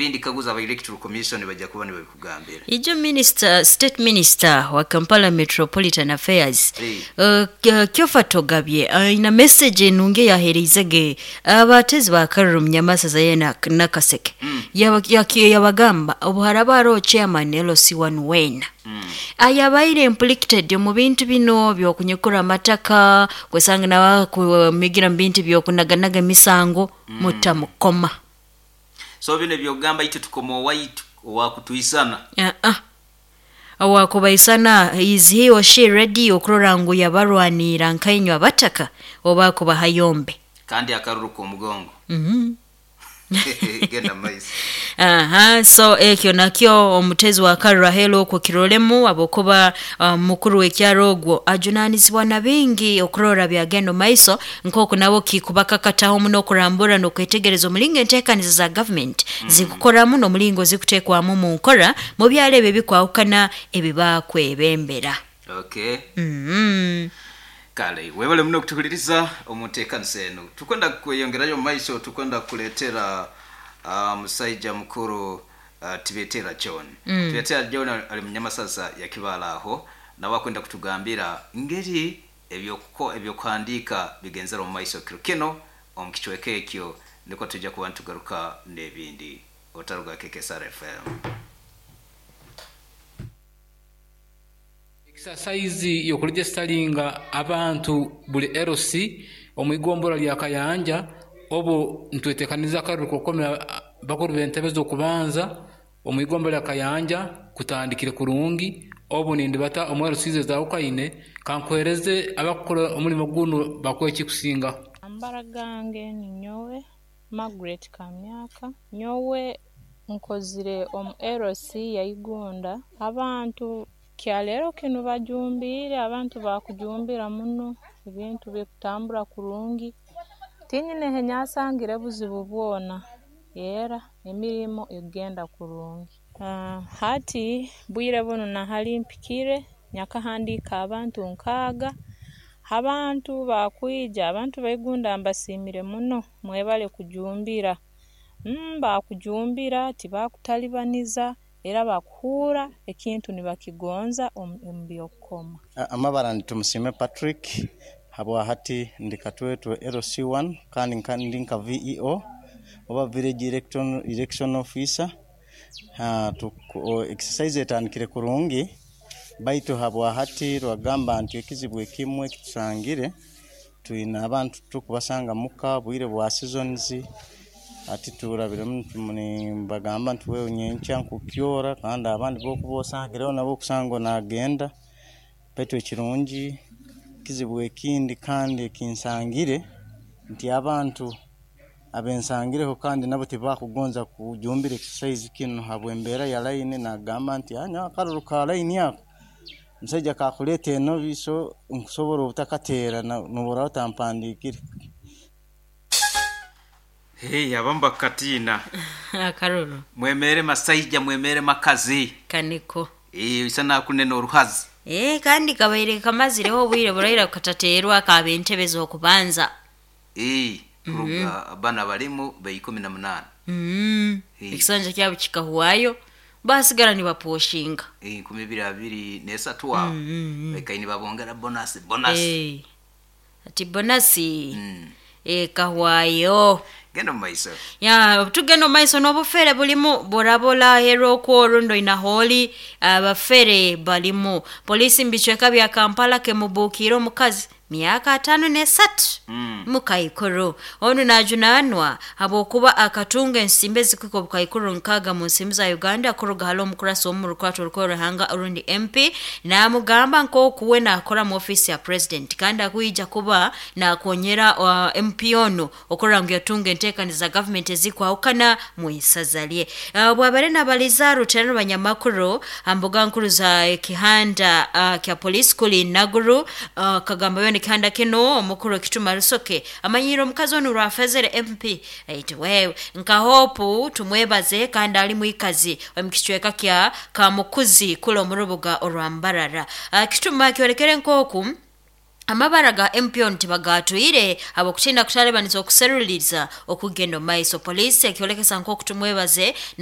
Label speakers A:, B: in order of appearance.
A: Ebindi kaguza aba Electoral Commission, bajja kuba nibabikugambira.
B: Ijo minister, state minister wa Kampala Metropolitan Affairs, Kyofa Togabye, aina message enungi yahereizege abatezi ba karuru munyamasaza ye Nakaseke. Yabagamba obu haraba hariho chairman LC1 wena ayabaire implicated omu bintu bino byokunyukura amataka, kwesanga nawe kumigira mu bintu byokunaganaga emisango, mutamukoma.
A: So bino ebyokugamba itwe tukoma owaitu owakutwisana.
B: Owakubaisana, is he or she ready okurora ngu yabarwanira nkainywe abataka oba kubaha yombe?
A: Kandi akaruru k'omugongo. Genda maiso.
B: Aha, so ekyo nakyo omutezi wa karuru ahelu okwo kirolemu, habwokuba mukuru w'ekyaro ogwo ajunanizibwa na bingi okurora byagenda maiso, nk'oku nabo kikubakakataho muno okurambura n'okwetegereza omulingo enteekaniza za government zikukoramu n'omulingo zikuteekwamu mu nkora mu byaro ebyo ebikwahukana ebibakwebembera.
A: Okay. Kale webale muno okutuhuliriza omu nteekanisa enu. Tukwenda kweyongerayo omu maiso, tukwenda kukuleetera musaija mukuru Tibetera John. Tibetera John ali munyamasaza ya Kibaale aho, nawe akwenda kutugambira ngeri ebyokuhandiika bigenzere omu maiso kiro kino omu kicweka ekyo, nikwo tujja kuba nitugaruka n'ebindi. Otaruga KKSR FM.
C: Exercise y'okuregisteringa abantu buli LC omu igombora lya Kayanja, obu nitwetekaniza akaruru k'okukomera bakuru b'entebe z'okubanza omu igombora lya Kayanja kutandikire kurungi. Obu nindibata omu LCs ezawukaine, kankuhereze abakukora omulimo gunu bakuhe ekikusingaho.
D: Amabara gange ninyowe Margaret Kamyaka, nyowe nkozire omu LC ya Igunda. Abantu kyaleero kinu bajumbiire, abantu bakujumbira muno, ebintu bikutambura kurungi, tinyine henyasangire buzibu bwona, era emirimo ekugenda kurungi. Hati bwire bunu nahali mpikire nyakahandiika abantu 6, abantu bakwija, abantu ba Igunda mbasiimire muno, mwebale kujumbira, baakujumbira tibakutalibaniza, era bakuhuura ekintu nibakigonza omu by'okukoma.
E: Amabara ndi Tumusiime Patrick, habwa hati ndi Katwetwe LC1 kandi ndi nka VEO oba Village Election Officer. Exercise etandikire kurungi, baitu habwa hati rwagamba nti ekizibu ekimwe ekitusangire, twine abantu tukubasanga muka bwire bwa seasons, ati turabiremu nibagamba nti wewe nyenkya nkukyora, kandi abandi bokuba osangireho nabo okusanga nagenda. Baitu ekirungi kizibu ekindi kandi ekinsangire nti abantu abensangireho kandi nabo tibakugonza kujumbira exercise kinu habw'embeera ya line. Nagamba nti nyowe akaruru ka line ako omusaija kakuleeta enobi, so nkusobora obutakateera nobu otampandiikire.
A: Hey, abamu bakatiina.
B: Akaruru.
A: Mwemere masaija, mwemere makazi.
B: Kaniko.
A: Isa nakunena oruhazi.
B: Kandi kabaire kamazireho obwire buraira katateerwa kaba entebe z'okubanza.
A: Kuruga bana balimu be 18.
B: Ekisanja kyabo kikahwayo, basigara nibaposhinga.
A: 2023 aho. Bekaini babongera bonus, bonus.
B: Ati bonus. Kahwayo.
A: Genda mumaiso.
B: Ya, tugenda mumaiso n'obufere bulimu burabola hero okwo ina holi abafere balimu. Polisi mbicweka bya Kampala kemubuukira omukazi myaka 53 mukaikuru. Onu najunanwa habwokuba akatunga ensimbi ezikuhika obukaikuru 6 mu nsimbi za Uganda kuruga hali omukurasi omu rukwato rw'oruhanga orundi MP, namugamba nk'oku we nakora mu ofisi ya president kandi akwija kuba nakonyera MP ono okurora ngu yatunga enteekaniza za government ezikwahukana mu isaza lye. Bwabare nabaliza ruterano banyamakuru ambuga nkuru za kihanda kya police kuli Naguru, kagamba bene kihanda kino omukuru Kituma Rusoke amanyiro omukazi ono rwafezere MP ait wewe nka hope tumwebaze kandi ali muikazi omukicweka kya Kamukuzi kula omurubuga orwambarara. Kituma kyorekere nkoku amabara ga MP ntibagatwire abokutinda kutalebaniza okuseruliriza okugenda maiso. Polisi ekyolekesa nkoku tumwebaze na